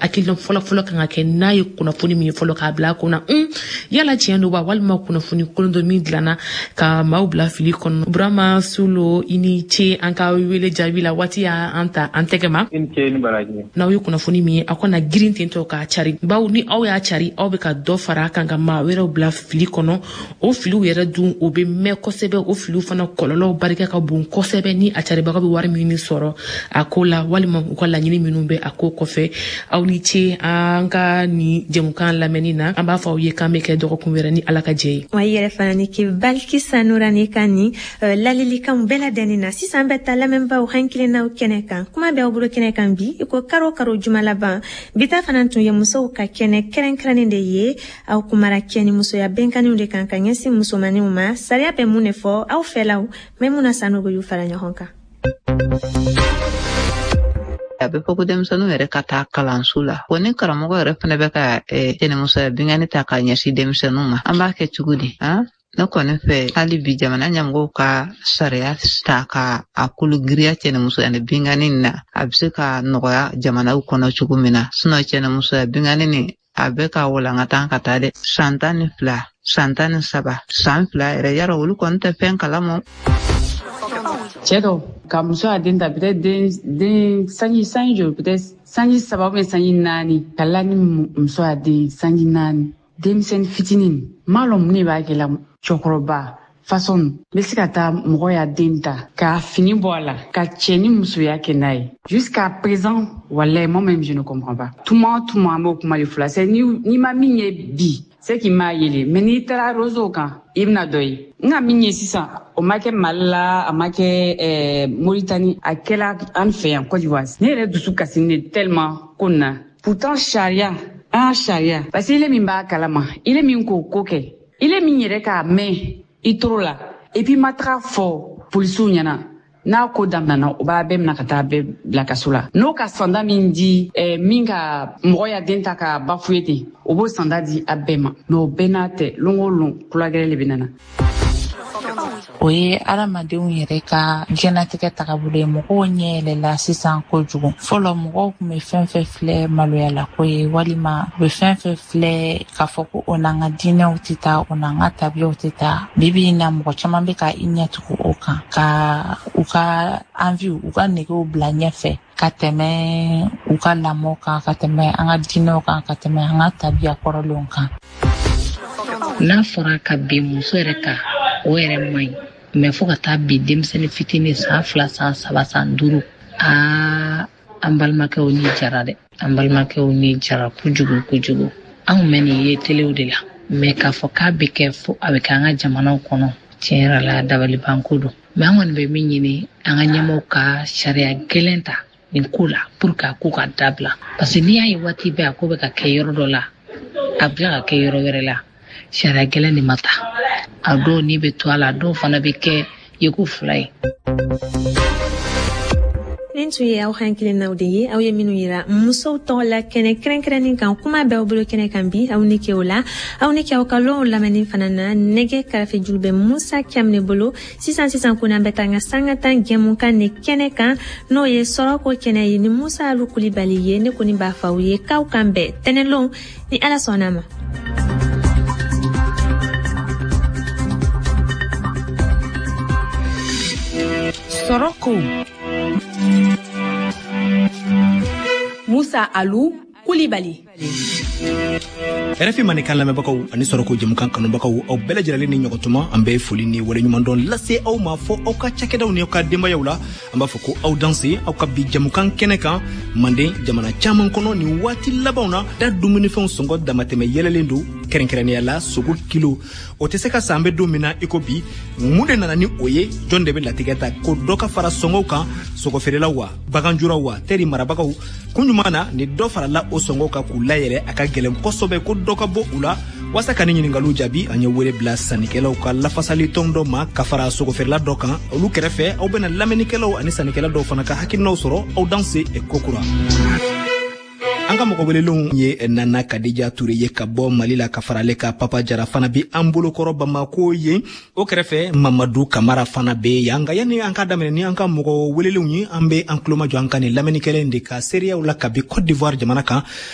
Hakilina fɔlɔfɔlɔ kan ka kɛ n'a ye kunnafoni min ye fɔlɔ k'a bila a kunna, yala tiɲɛ don wa, walima kunnafoni kolon dɔ min dilanna ka maaw bila fili kɔnɔ. Burama Sulo, i ni ce an ka wele jaabi la. Waati y'an ta an tɛgɛ ma. N'aw ye kunnafoni min ye, aw kana girin tentɔ k'a cari, bawo ni aw y'a cari, aw bɛ ka dɔ fara a kan ka maa wɛrɛw bila fili kɔnɔ. O filiw yɛrɛ dun, o bɛ mɛn kosɛbɛ. O filiw fana kɔlɔlɔw barika ka bon kosɛbɛ ni a caribaga bɛ wari min sɔrɔ a ko la, walima u ka laɲini minnu bɛ a ko kɔfɛ. Aw ni ce an ka nin jɛmukan lamɛnni na. An b'a fɔ aw ye k'an bɛ kɛ dɔgɔkun wɛrɛ ni Ala ka jɛ ye. Wa i yɛrɛ fana ni ke Balikisa Nurani ka nin lalilikanw bɛɛ ladɛnnin na. Sisan bɛ taa lamɛnbaaw hakilinnaw kɛnɛ kan. Kuma bɛ aw bolo kɛnɛ kan bi, i ko karo karo juma laban. Bi ta fana tun ye musow ka kɛnɛ kɛrɛnkɛrɛnnen de ye. Aw kumara cɛ ni musoya bɛnkanniw de kan ka ɲɛsin musomaninw ma. Sariya bɛ mun de fɔ aw fɛlaw? Maimuna Sanogo y'u fara ɲɔgɔn kan. A bɛ fɔ ko denmisɛnninw yɛrɛ ka taa kalanso la. Wa ni karamɔgɔ yɛrɛ fana bɛ ka cɛnimusoya binkanni ta k'a ɲɛsin denmisɛnninw ma, an b'a kɛ cogo di? Ne kɔni fɛ, hali bi jamana ɲɛmɔgɔw ka sariya ta ka a kolo giriya cɛnimusoya ni binkanni na, a bɛ se ka nɔgɔya jamanaw kɔnɔ cogo min na. Sinɔn cɛnimusoya binkanni nin, a bɛ ka walankatan ka taa dɛ. San 12, san 13, san 2 yɛrɛ, yarɔ olu kɔni tɛ fɛn kalama. Cɛ dɔ ka muso y'a den ta, peut-être den sanji joli, peut-être sanji 3 ou bien sanji 4, ka la ni muso y'a den sanji 4, denmisɛnnin fitinin. M'a lɔn mun de b'a kɛ la. Cɛkɔrɔba façon n bɛ se ka taa mɔgɔ y'a den ta k'a fini bɔ a la ka cɛ ni musoya kɛ n'a ye. Jusqu'à présent, wallahi, moi-même je ne comprends pas. Tuma o tuma, an b'o kuma de fɔ la. C'est n'i ma min ye bi, c'est qu'il m'a yele, mais n'i taara réseau kan, i bɛna dɔ ye. N ka min ye sisan, o ma kɛ Mali la, a ma kɛ Moritani, a kɛla an fɛ yan Côte d'Ivoire. Ne yɛrɛ dusu kasinen de tellement ko nin na. Pourtant sariya, an sariya, parce que ile min b'a kalama, ile min k'o ko kɛ, ile min yɛrɛ k'a mɛn i toro la, et puis ma taga fɔ polisiw ɲɛna, n'a ko daminɛna, o b'a bɛɛ minɛ ka taa bɛɛ bila kaso la. N'o ka sanda min di min ka mɔgɔ ya den ta ka bafuye ten, o b'o sanda di a bɛɛ ma. Mais o bɛɛ n'a tɛ, lon o lon kulagɛrɛ de bɛ nana. O ye adamadenw yɛrɛ ka diɲɛnatigɛ tagabolo ye. Mɔgɔw ɲɛ yɛlɛla sisan kojugu. Fɔlɔ, mɔgɔw tun bɛ fɛn fɛn filɛ maloyalako ye, walima u bɛ fɛn fɛn filɛ k'a fɔ ko o n'an ka diinɛw tɛ taa, o n'an ka tabiyaw tɛ taa, bi bi in na, mɔgɔ caman bɛ ka i ɲɛtugu o kan, ka u ka envie, u ka negew bila ɲɛfɛ ka tɛmɛ u ka lamɔ kan, ka tɛmɛ an ka diinɛw kan, ka tɛmɛ an ka tabiya kɔrɔlenw kan. N'a fɔra ka bin muso yɛrɛ kan, o yɛrɛ man ɲi, mɛ fo ka taa bin denmisɛnnin fitinin, san 2, san 3, san 5, aa, an balimakɛw ni jara dɛ, an balimakɛw ni jara kojugu kojugu. An kun bɛ nin ye telew de la, mɛ k'a fɔ k'a bɛ kɛ fo a bɛ kɛ an ka jamanaw kɔnɔ, tiɲɛ yɛrɛ la, dabalibanko don. Mɛ an kɔni bɛ min ɲini, an ka ɲɛmɔgɔw ka sariya gɛlɛn ta nin ko la pour que a ko ka dabila, parce que n'i y'a ye waati bɛɛ a ko bɛ ka kɛ yɔrɔ dɔ la, a bɛ tila ka kɛ yɔrɔ wɛrɛ la, sariya gɛlɛn de ma ta. A dɔw ni bɛ to a la, a dɔw fana bɛ kɛ yeko fila ye. Nin tun ye aw hakilinaw de ye, aw ye minnu yira musow tɔgɔ la kɛnɛ kɛrɛnkɛrɛnnin kan, kuma b'aw bolo kɛnɛ kan bi. Aw ni ke o la, aw ni ke aw ka lɔnw lamɛnni fana na. Nɛgɛ karafe juru bɛ Musa Kɛmɛ bolo sisan. Sisan ko n'an bɛ taa an ka sanga tan jɛmukan ni kɛnɛ kan, n'o ye sɔrɔko kɛnɛ ye ni Musa Alu Kulibali ye. Ne kɔni b'a fɔ aw ye k'aw kan bɛn tɛnɛlon ni Ala sɔnna ma. Sɔrɔko, Musa Alu Kulibali. RFI Mandenkan lamɛnbagaw ani sɔrɔko jɛmukan kanubagaw, aw bɛɛ lajɛlen ni ɲɔgɔn tuma. An bɛ foli ni waleɲumandɔn lase aw ma fɔ aw ka cakɛdaw ni aw ka denbayaw la. An b'a fɔ ko aw danse aw ka bi jɛmukan kɛnɛ kan. Manden jamana caman kɔnɔ, nin waati labanw na da, dumunifɛnw sɔngɔ damatɛmɛ yɛlɛlen don, kɛrɛnkɛrɛnnenya la sogo kilo, o tɛ se ka san. An bɛ don min na i ko bi, mun de nana ni o ye? Jɔn de bɛ latigɛ ta ko dɔ ka fara sɔngɔw kan? Sogofeerelaw wa, baganjuraw wa, tɛri marabagaw? Kun ɲuman na ni dɔ farala o sɔngɔw kan k'u layɛlɛ, a ka gɛlɛn kosɛbɛ ko dɔ ka bɔ u la? Waasa ka ni ɲiningaliw jaabi, an ye wele bila sannikɛlaw ka lafasali tɔn dɔ ma ka fara sogofeerela dɔ kan. Olu kɛrɛfɛ, aw bɛna lamɛnnikɛlaw ani sannikɛla dɔw fana ka hakilinaw sɔrɔ. Aw danse kokura. An ka mɔgɔ welelenw ye Nana Kadija Ture ye ka bɔ Mali la, ka fara ale ka Papa Jara fana bi an bolokɔrɔ Bamako ye. O kɛrɛfɛ, Mamadu Kamara fana be yan. Nka yanni an ka daminɛ ni an ka mɔgɔ welelenw ye, an be an tulomajɔ an ka nin lamɛnnikɛla de ka seereyaw la kabi Cote d'Ivoire jamana kan.